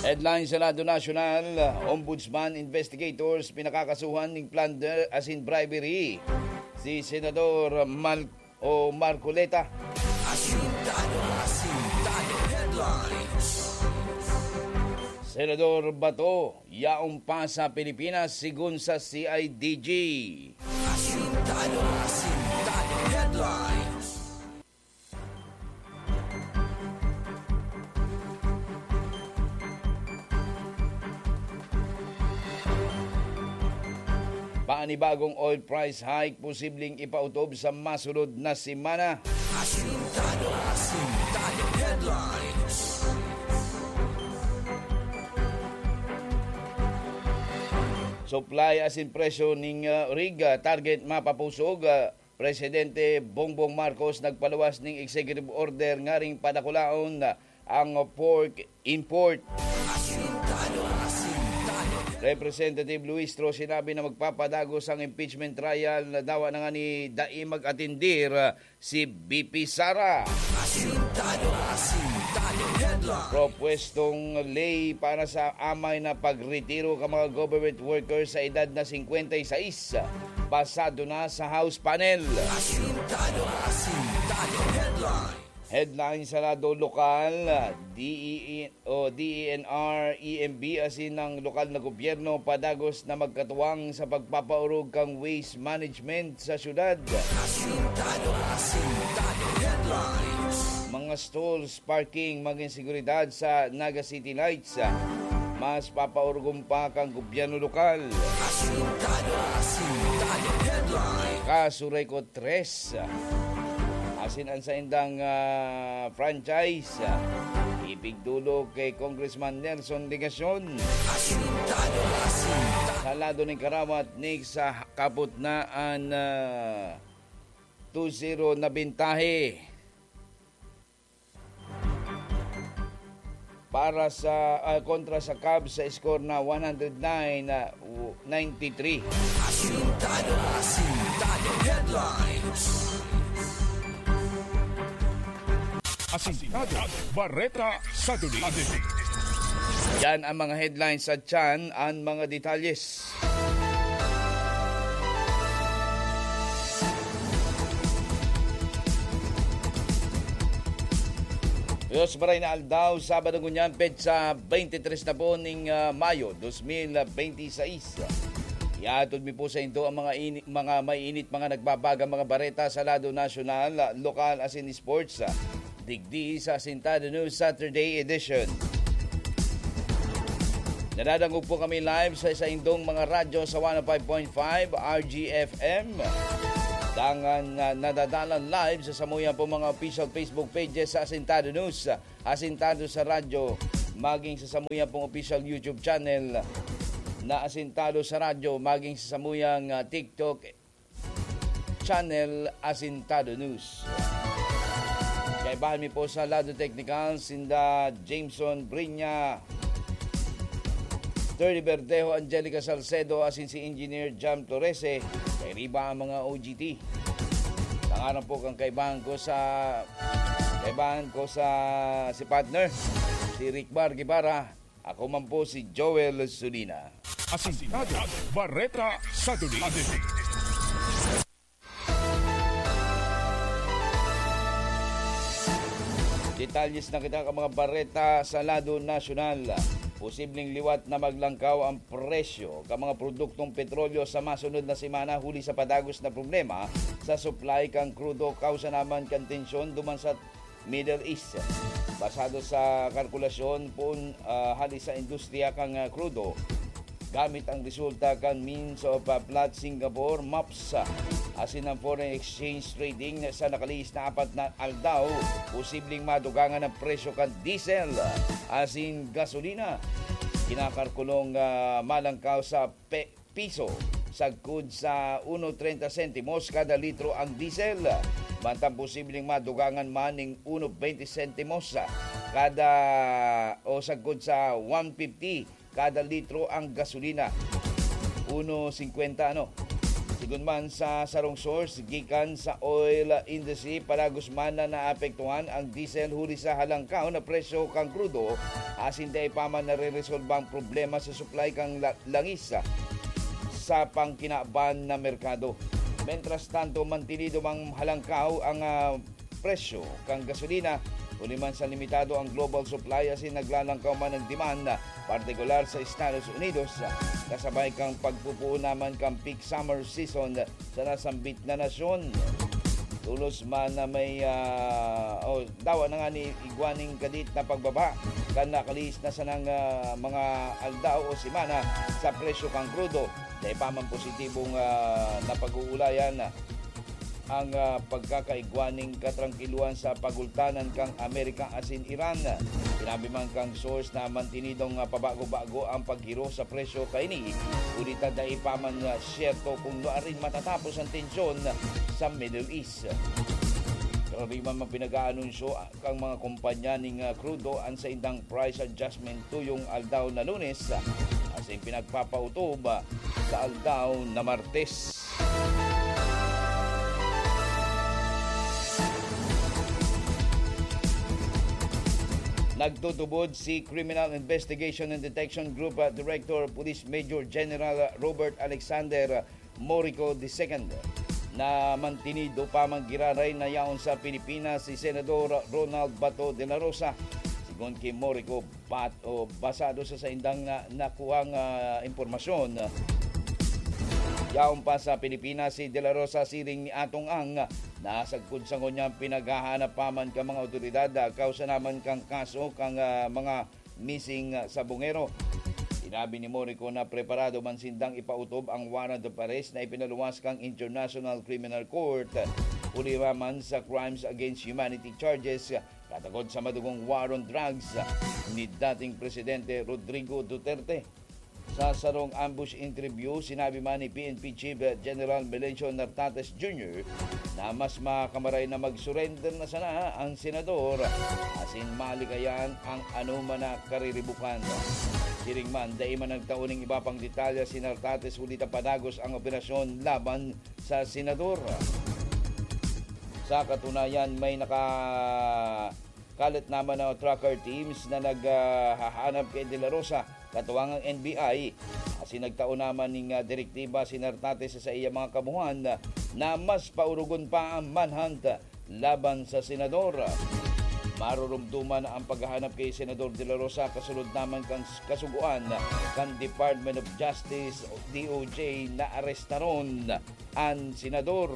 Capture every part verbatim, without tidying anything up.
Headlines sa lado nasyonal, Ombudsman investigators pinakakasuhan ning plunder asin bribery si Senador Mal- o Marcoleta. Asintado, asintado headlines. Senador Bato, yaon pa sa Pilipinas sigon sa C I D G. Asintado, asintado headlines. Panibagong oil price hike posibleng ipautob sa masunod na semana. Asintado, asintado headlines. Supply asin presyo ning, ah, rig, ah, target mapapusog, ah, Presidente Bongbong Marcos nagpaluwas ning executive order ngaring padakulaon ang pork import. Asintado, asintado. Representative Luistro sinabi na magpapadagos ang impeachment trial na dawa na ngani dai mag-atindir si V P Sara. Asintado, asintado headline. Propwestong ley para sa amay na pagretiro ka mga government workers sa edad na singkwenta y seis. Pasado na sa House panel. Asintado, asintado headline. Headline sa lado lokal, D E N, o D E N R, E M B asin ang lokal na gobyerno padagos na magkatuwang sa pagpapaorog kan waste management sa syudad. Asintado, asintado headlines. Mga stalls, parking, magin seguridad sa Naga City Lights. Mas papaorgon pa kan gobyerno lokal. Asintado, asintado headline. Kaso Record tres, asin an saindang, ah, franchise, ah, ipigdolok ki Congressman Nelson Legacion. Asintado, asintado. Sa lado nin karawat, next, ah, kapot na an, ah, two zero na bintahe para sa, ah, kontra sa Cubs sa score na one hundred nine, ah, ninety-three. Asintado, asintado headlines. Asintado, bareta sa duli. Yan ang mga headlines sa tiyan, ang mga detalyes. Dios maray na aldaw, Sabado ngunyan, petsa twenty-three na po ning, ah, Mayo, dos mil bente y seis. Ihatod mi po sa indo ang mga ini-, mga maiinit, mga nagbabagang mga bareta sa lado nasyonal, lokal, asin sports. Digdi sa Asintado News Saturday Edition. Nadadangog po kami live sa saindong mga radyo sa one oh five point five R G F M. Dangan, ah, nadadalan live sa samuya po mga official Facebook pages sa Asintado News, Asintado sa Radyo, maging sa samuya pong official YouTube channel na Asintado sa Radyo, maging sa samuyang, ah, TikTok channel, Asintado News. Kaibahan mi po sa lado teknikal, sinda Jameson Brinya, Thirty Verdejo, Angelica Salcedo, asin si Engineer Jam Torrese. Kairiba ang mga O G T. Tangaran po kan kaibahan ko sa, kaibahan ko sa si partner, si Rick Bar Guevara. Ako man po si Joel Sulina. Asintado, bareta sa duli. Detalyes na kita ka mga bareta sa lado nasyonal. Posibleng liwat na maglangkaw ang presyo ka mga produktong petrolyo sa masunod na semana huli sa padagos na problema sa supply kan krudo kausa naman kan tensyon duman sa Middle East. Basado sa kalkulasyon poon, ah, hali sa industriya kan, ah, krudo, gamit ang resulta kan Means of, ah, Platts Singapore, MOPS, ah, asin ang foreign exchange trading sa nakalihis na apat na aldaw, posibleng madugangan ang presyo kan diesel, ah, asin gasolina. Kinakalkulong, ah, malangkaw sa pe-, piso, sagkod sa uno treinta sentimos kada litro ang diesel. Mantang posibleng madugangan man ning uno veinte sentimos kada, o sagkod sa one fifty kada litro ang gasolina. Uno cincuenta, ano? Si Kun man sa sarong source, gikan sa oil industry, padagos man na naapektuhan ang diesel huli sa halangkaw na presyo kan krudo, asin dai pa man nareresolba ang problema sa supply kan la-, langis sa pangkinaban na merkado. Mentras tanto, mantinido mang halangkaw ang, ah, presyo kan gasolina, huli man sa limitado ang global supply asin naglalangkaw man ang demand, partikular sa Estados Unidos, kasabay kan pagpupuon naman kan peak summer season sa nasambit na nasyon. Tolos man na may, ah, o dawa na nga ni igwaning kadit na pagbaba kan nakalihis na sanang, ah, mga aldaw o semana sa presyo kan krudo. Dai pa man positibong, ah, napag-uulayan ang, ah, pagkakaigwa ning katrangkiluhan sa pagultanan kan Amerika asin Iran. Sinabi man kan source na mantinidong, ah, pabago-bago ang paghiro sa presyo kaini, huli ta dai pa man, ah, siyerto kung nuarin matatapos ang tensyon sa Middle East. Karaniwan man pinag-aanunsyo, ah, kan mga kompanya ning, ah, krudo an saindang price adjustment tuyong aldaw na Lunes, ah, asin pinagpapautob, ah, sa aldaw na Martes. Nagtutubod si Criminal Investigation and Detection Group, ah, Director Police Major General Robert Alexander Morico the second na mantinido pa man giraray na yaon sa Pilipinas si Senador Ronald Bato de la Rosa. Sigon ki Morico, bat-, o basado sa saindang na, nakuhang, ah, impormasyon, yaon pa sa Pilipinas si De La Rosa siring ni Atong Ang, na sagkod sa ngunyan pinaghahanap pa man kan mga awtoridad, ah, kausa naman kan kaso kan, ah, mga missing, ah, sa Bungero. Sinabi ni Morico na preparado man sindang ipautob ang warrant of arrest na ipinaluwas kan International Criminal Court, huli man sa crimes against humanity charges, katakod sa madugong war on drugs ni dating Presidente Rodrigo Duterte. Sa sarong ambush interview, sinabi man ni P N P Chief General Melencio Nartates Junior na mas makamaray na mag-surrender na sana ang senador asin malikayan ang anoman na kariribukan. Siring man, dai man nagtao ning iba pang detalye si Nartates huli ta padagos ang operasyon laban sa senador. Sa katunayan, may naka- kalat naman ang tracker teams na naghahanap kay De La Rosa, katuwang ang N B I. Asin nagtao naman ning, ah, direktiba si Nartates sa iya mga kamuhan na mas paurugon pa ang manhunt laban sa senador. Marurumduman ang paghahanap kay Senador De La Rosa kasunod naman kan kasugoan kan Department of Justice o D O J na arestaron an senador.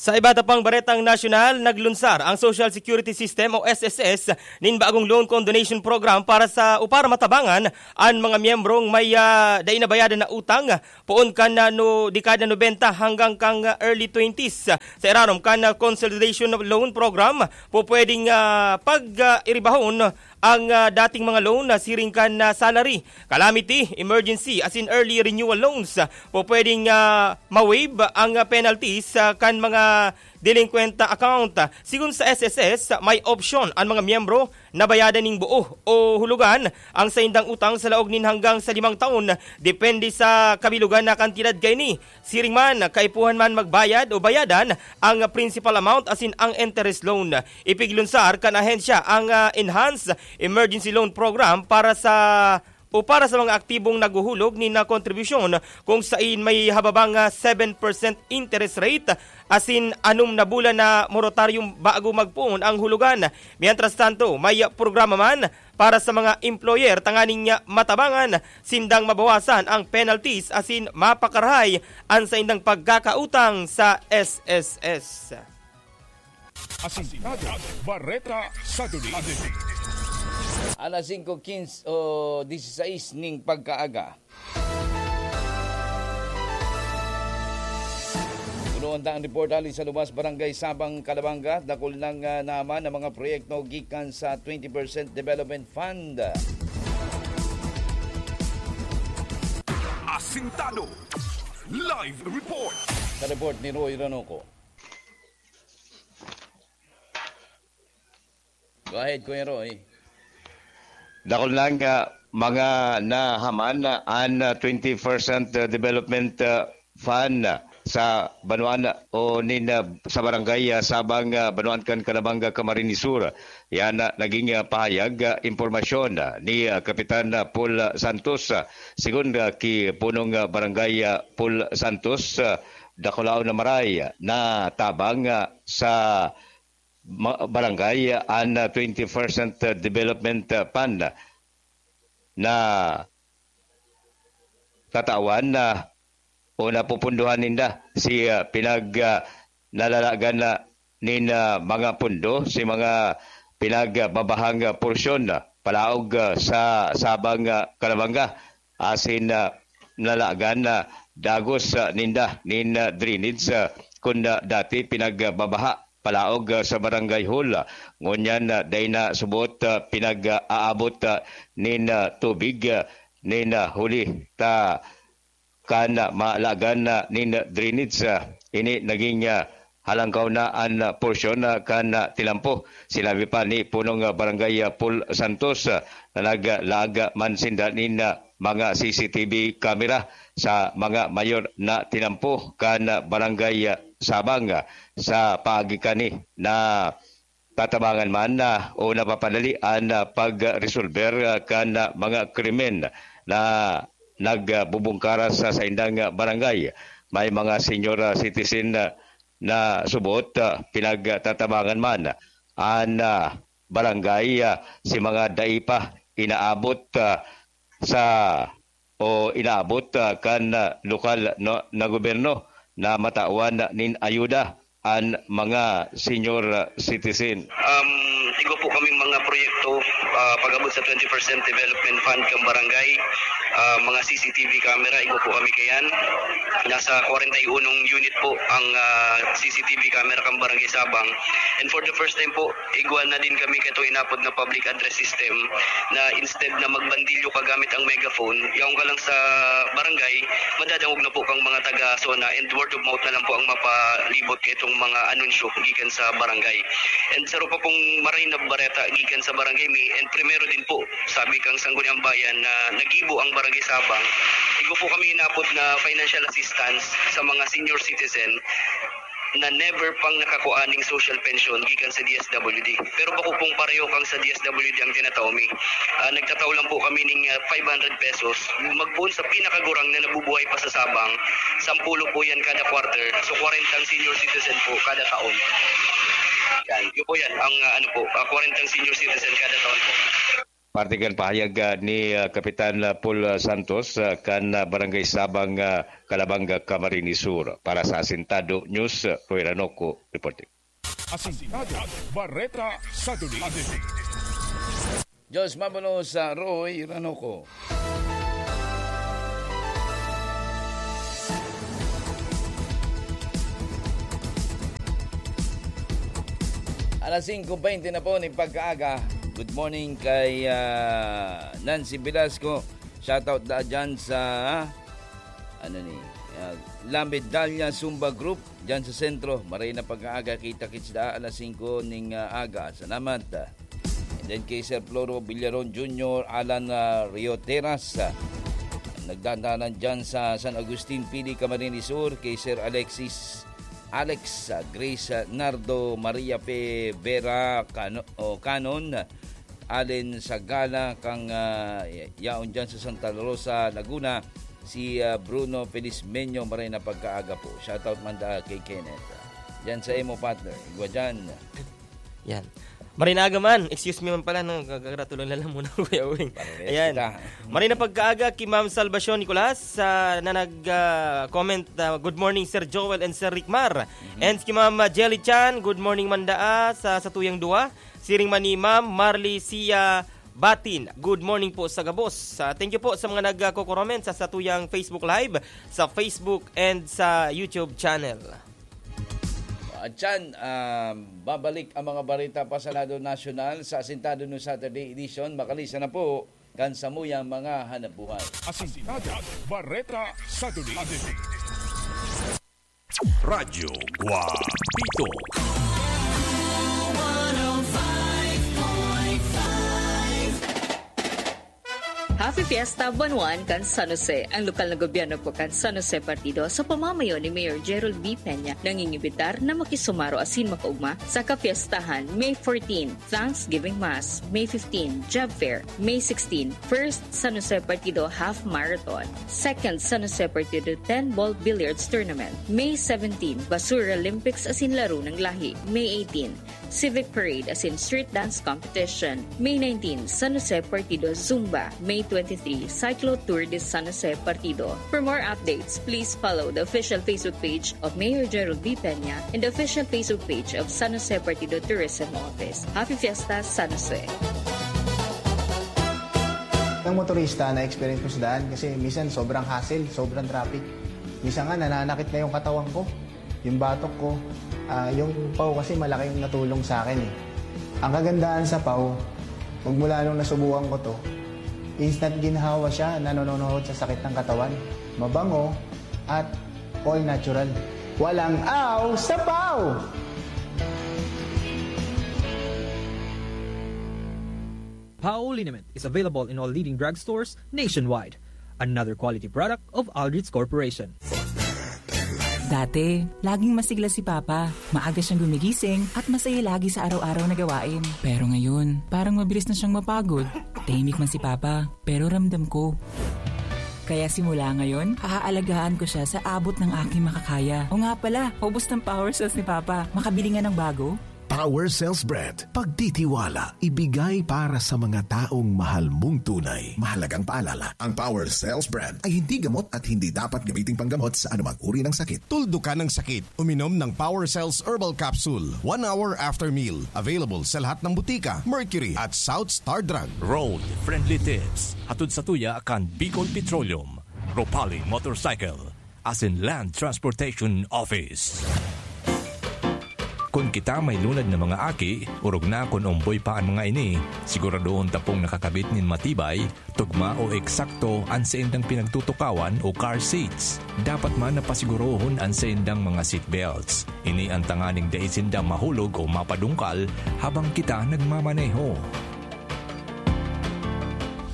Sa iba ta pang baretang nasyonal, naglunsar ang Social Security System o S S S nin bagong loan condonation program para sa o para matabangan an mga miyembrong may, ah, dai nabayadan na utang poon kan, ah, no, dekada nobenta hanggang kan, ah, early twenties. Sa irarom kan, ah, Consolidation Loan Program, pupwedeng, ah, pag, ah, iribahon ang, ah, dating mga loan na siring kan, ah, salary, calamity, emergency, asin early renewal loans. Pupwedeng, ah, ma-waive ang, ah, penalties, ah, kan mga delinquent account. Sigon sa S S S, may opsyon an mga miyembro na bayadan ning buo o hulugan ang saindang utang sa laog nin hanggang sa limang taon, depende sa kabilugan na kantidad kaini. Siring man, kaipuhan man magbayad o bayadan ang principal amount asin ang interest loan. Ipiglunsar kan ahensya ang, ah, Enhanced Emergency Loan Program para sa o para sa mga aktibong naghuhulog nin, ah, kontribusyon kung sain may hababang, ah, seven percent interest rate asin anom na bulan na moratorium bago magpoon ang hulugan. Mientras tanto, may programa man para sa mga employer tanganing, ah, matabangan sindang mabawasan ang penalties asin mapakarahay an saindang pagkakautang sa S S S. Asintado, Bareta sa Duli. Alas singko quince o disisais ning pagkaaga. Puno ang daang report hali sa luwas, Barangay Sabang, Calabanga. Dakul nang, ah, naman ang mga proyekto gikan sa twenty percent Development Fund. Asintado Live Report. Sa report ni Roy Ranoco. Go ahead, Kuya Roy. Dakul na nga mga nahaman an twenty percent development, ah, fund sa banwaan o nin, ah, sa barangay, ah, Sabang, ah, banwaan kan Calabanga, Camarines Sur. Yan, ah, naging, ah, pahayag, ah, impormasyon, ah, ni, ah, Kapitan, ah, Paul, ah, Santos, ah, sigon, ah, ki punong, ah, barangay, ah, Paul Santos, ah, dakulaon na maray, ah, na tabang, ah, sa ma-, barangay, ah, an, ah, twenty percent development, ah, fund na tatawan na o napupundohan ninda si, ah, pinag, ah, nalalagan na nin, ah, mga pundo, si mga pinagbabahang, ah, porsyon, ah, palaog, ah, sa Sabang, ah, Calabanga, asin, ah, nalagan na dagos, ah, ninda nin, ah, drainage, ah, kun, ah, dati pinagbabaha palaog, ah, sa barangay hall. Ngunyan, ah, dai na subot, ah, pinag-aabot, ah, nin, ah, tubig, ah, nin, ah, huli ta kan, ah, malagan na nin drainage. Ah, ini naging, ah, halangkaw na an, ah, porsyon, ah, kan, ah, tinampo. Sinabi pa ni Punong, ah, Barangay, ah, Paul Santos, ah, na naglaag man sinda nin, ah, mga C C T V camera sa mga mayor na tinampo kan, ah, Barangay, ah, Sabang, ah, sa paagi kani na tatabangan man, ah, o napapadali an, ah, pagresolber, ah, kan, ah, mga krimen na nagbubungkaras sa saindang, ah, barangay. May mga senior, ah, citizen, ah, na subot, ah, pinagtatabangan man an, ah, barangay, ah, si mga dai pa inaabot, ah, sa o inaabot, ah, kan, ah, lokal no, na gobyerno na matawan nin ayuda an mga senior, ah, citizen. Um, igwa po kaming mga proyekto, ah, pag-abot sa twenty percent development fund kan barangay, ah, mga C C T V camera, igwa po kami kayan. Nasa kwarenta y unong unit po ang, ah, C C T V camera kan Barangay Sabang. And for the first time po, igwa na din kami kaitong inapod na public address system na instead na magbandilyo ka gamit ang megaphone, yaon ka lang sa barangay, madadangog na po kang mga taga-zona and word of mouth na lang po ang mapalibot kaitong mga anunsyo gikan sa barangay. And saro pa pong maray na bareta gikan sa barangay mi, and primero din po, sabi kang Sangguniang Bayan na nagibo ang Barangay Sabang, igwa po kami inapod na financial assistance sa mga senior citizen na never pang nakakua ning social pension gikan sa D S W D. Pero bako pong parehokang sa D S W D ang tinatao mi. Ah, nagtatao lang po kami ning, ah, five hundred pesos. Magpoon sa pinakagurang na nabubuhay pa sa Sabang, sampulo po yan kada quarter. So, kwarentang senior citizen po kada taon. Yan. Yun po yan, ang, ah, ano po, ah, kwarentang senior citizen kada taon po. Parte kan pahayag, ah, ni, ah, Kapitan, ah, Paul, ah, Santos, ah, kan, ah, Barangay Sabang, ah, Calabanga, Camarines Sur. Para sa Asintado News, ah, Roy Ranoco reporting. Asintado, Bareta sa Duli. Diyos mabulos sa Roy Ranoco. Alas singko bente na po nin pagkaaga. Good morning kay, ah, Nancy Velasco. Shoutout da dyan sa, ano ni, ah, La Medalla Zumba Group, dyan sa sentro. Maray na pagkaaga, kita-kits da alas singko ning, ah, aga. Salamat. And then kay Sir Floro Villaron Junior, Alan, ah, Rioteras, ah, nagdadalan dyan sa San Agustin, Pili, Camarines Sur, kay Sir Alexis, Alex, ah, Grace, ah, Nardo, Maria P. Vera, Cano-, o Canon, Allen Sagala, kang, ah, yaon dyan sa Santa Rosa, Laguna, si, ah, Bruno Felizmeño, maray na pagkaaga po. Shoutout man da kay Kenneth. Dyan sa imo, partner. Igwa dyan. Yan. Maray na aga man. Excuse me man pala, no? Gagratulon na lang muna, Kuya Uwing. Pares Ayan. kita. Maray na pagkaaga ki Ma'am Salvacion Nicolas, sa, na nag, ah, comment, ah, "Good morning, Sir Joel and Sir Rickmar." Mhm. And ki Ma'am, ah, Jelly Chan, "Good morning, Mandaa, sa, sa tuyang duwa." Siring man ni Ma'am Marlicia Batin, "Good morning po sa gabos." Ah, thank you po sa mga nagko-comment sa satuyang Facebook Live, sa Facebook and sa YouTube channel. At yan, ah, babalik ang mga bareta pa sa lado nasyonal sa Asintado no Saturday edition. Makalisa na po kan samuyang mga hanapbuhay. Asintado, Bareta sa Duli. Radyo Guapito. Fiesta Buwan kan San Jose. Ang lokal na gobyerno po kan San Jose Partido sa pamamayo ni Mayor Gerald B. Peña nangingibitar na makisumaro asin makaugma sa kapiestahan May fourteen, Thanksgiving Mass, May fifteen, Job Fair, May sixteen, First San Jose Partido Half Marathon, Second San Jose Partido ten Ball Billiards Tournament, May seventeen, Basura Olympics asin Laro ng Lahi, May eighteen, Civic Parade asin Street Dance Competition, May nineteen, San Jose Partido Zumba, May twenty-three, Cyclo Tour de San Jose Partido. For more updates, please follow the official Facebook page of Mayor Gerald B. Peña and the official Facebook page of San Jose Partido Tourism Office. Happy Fiesta, San Jose! Ng motorista na experience ko sa daan kasi minsan sobrang hassle, sobrang traffic. Minsan nga nananakit na yung katawan ko, yung batok ko. Ah, yung paw kasi malaking natulong sa akin eh. Ang kagandahan sa paw, magmula nung nasubukan ko to, instant ginhawa siya, nanononohod sa sakit ng katawan. Mabango at all natural. Walang aw sa paw! Pao liniment is available in all leading drugstores nationwide. Another quality product of Aldrich Corporation. Dati, laging masigla si Papa. Maaga siyang gumigising at masaya lagi sa araw-araw na gawain. Pero ngayon, parang mabilis na siyang mapagod. Tahimik man si Papa, pero ramdam ko. Kaya simula ngayon, aalagaan ko siya sa abot ng aking makakaya. O nga pala, ubos ng power cells ni Papa. Makabili nga ng bago? Power Cells Brand. Pagtitiwala, ibigay para sa mga taong mahal mong tunay. Mahalagang paalala, ang Power Cells Brand ay hindi gamot at hindi dapat gamiting panggamot sa anumang uri ng sakit. Tuldukan ang sakit. Uminom ng Power Cells Herbal Capsule one hour after meal. Available sa lahat ng butika, Mercury at South Star Drug. Road Friendly Tips. Hatod sa tuya kan Bicol Petroleum, Ropali Motorcycle, asin Land Transportation Office. Kun kita may lunad na mga aki, orog na kun omboy pa an mga ini, siguradohon ta pong nakakabit nin matibay, tugma o eksakto an saindang pinagtutukawan o car seats. Dapat man na pasigurohon an saindang mga seat belts. Ini an tanganing dai sinda mahulog o mapadungkal habang kita nagmamaneho.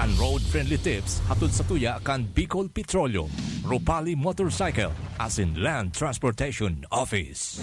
An Road Friendly Tips hatod sa tuya kan Bicol Petroleum, Ropali Motorcycle, asin Land Transportation Office.